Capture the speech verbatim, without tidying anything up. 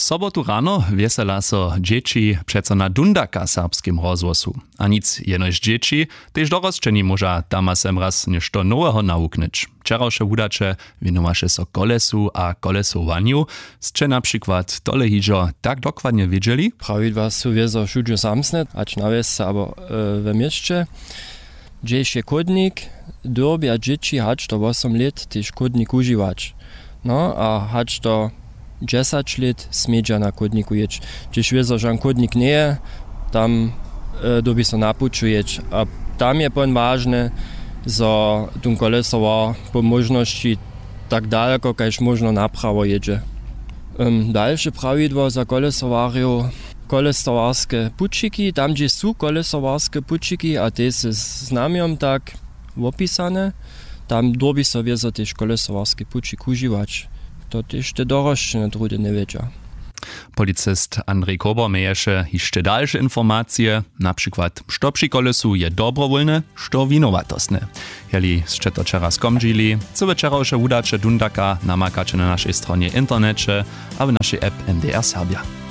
Sobotu rano wjesela so dźěći přeco na dundaka w serbskim rozhłosu. A nic jenož dźěći, tež dorosćeni móža tam a semraz něšto noweho nawuknyć. Wčerawše wudaće wěnowaše so kolesu a kolesowanju. Sće na přikład tole hižo tak dokładnje wědźeli? Prawidła su wězo wšudźe samsne, hač na wjesce abo e, we měsće. Hdźež je chódnik, dyrbja dźěći hač do wosom lět tež chódnik wužiwać. No a hač do dźesać lět smědźa na chódniku jěć. Hdźež wězo žan chódnik njeje, tam e, dyrbi so na puću jěć. A tam je pon wažne, zo tón kolesowar po móžnosći tak daleko kaž móžno naprawo jědźe. Ym, dalše prawidło za kolesowarjow: kolesowarske pućiki, tam hdźež su kolesowarske pućiki a te z znamjom tak wopisane, tam dyrbi so wězo tež kolesowarski pućik wužiwać. To tež te dorosćene druhdy njewědźa. Policist Andrej Kober měješe hišće dalše informacije, na přikład što při kolesu je dobrowólne, što winowatostne. Jeli sće to wčera skomdźili, co wčerawše wudaće dundaka, namakaće na našej stronje w interneće a w našej app N D R Serbja.